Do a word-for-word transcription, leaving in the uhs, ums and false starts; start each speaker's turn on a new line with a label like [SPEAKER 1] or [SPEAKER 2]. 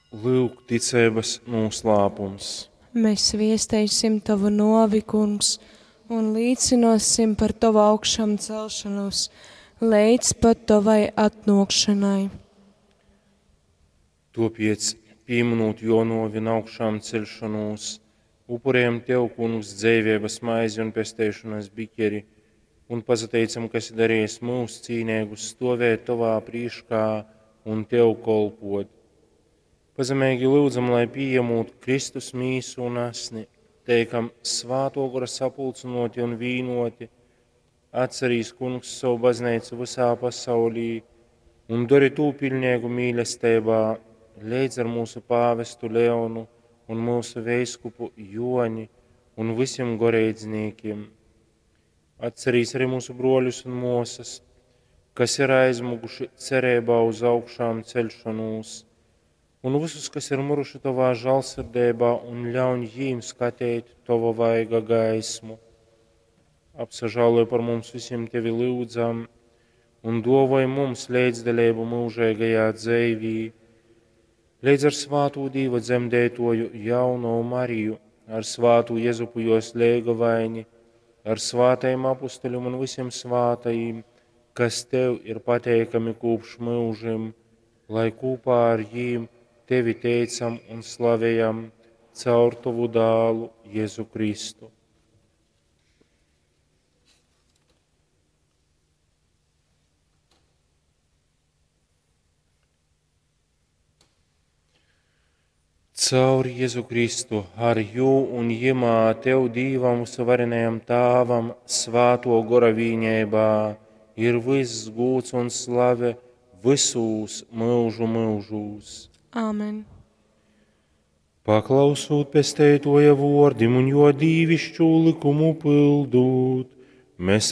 [SPEAKER 1] Lūk, ticeibas noslēpums.
[SPEAKER 2] Mēs viesteisim tavu novi, kungs, un līcinosim par tavu augšām celšanos līdz pat tavai atnākšanai.
[SPEAKER 1] Topiec, pieminot jo novi un augšām celšanos, upurējam Tev, kungs, dzēvības maizi un pesteišanas biķeri, un pazateicam, ka esi darījis mūs cīnēgus stovēt Tavā prīškā un Tev kolpot. Pazemīgi lūdzam, lai pieņemot Kristus mīsu un asni, teikam svāto gora sapulcinoti un vīnoti, atcerīs kungs savu baznīcu visā pasaulī un dari tū pilnīgu mīlestībā, līdz ar mūsu pāvestu Leonu un mūsu veiskupu Joni un visiem goreidznīkiem. Atcerīs arī mūsu broļus un mūsas, kas ir aizmuguši cerībā uz augšām celšanos, un visus, kas ir muruši tavā žālsirdībā, un ļauj jīm skatīt tava vaiga gaismu. Apsažāloj par mums visiem tevi lūdzam, un dovoj mums līdzdalību mūžīgajā dzīvī, līdz ar svātu Dīva dzemdētoju jauno Mariju, ar svātu Jezupu jos leigavaini, ar svātajiem apustuļiem un visiem svātajiem, kas tev ir pateikami kopš mūžim, lai kopā ar jīm tevi teicam un slavējam caur tavu dālu Jēzu Kristu. Caur Jēzu Kristu, ar jū un jimā tev Dīvam varenajam Tāvam, svāto gora vīņēbā, ir viss gūts un slave visūs mūžu mūžūs.
[SPEAKER 2] Āmen.
[SPEAKER 1] Paklausūt pesteitoja vordim un jo dīvišķu likumu pildūt, mēs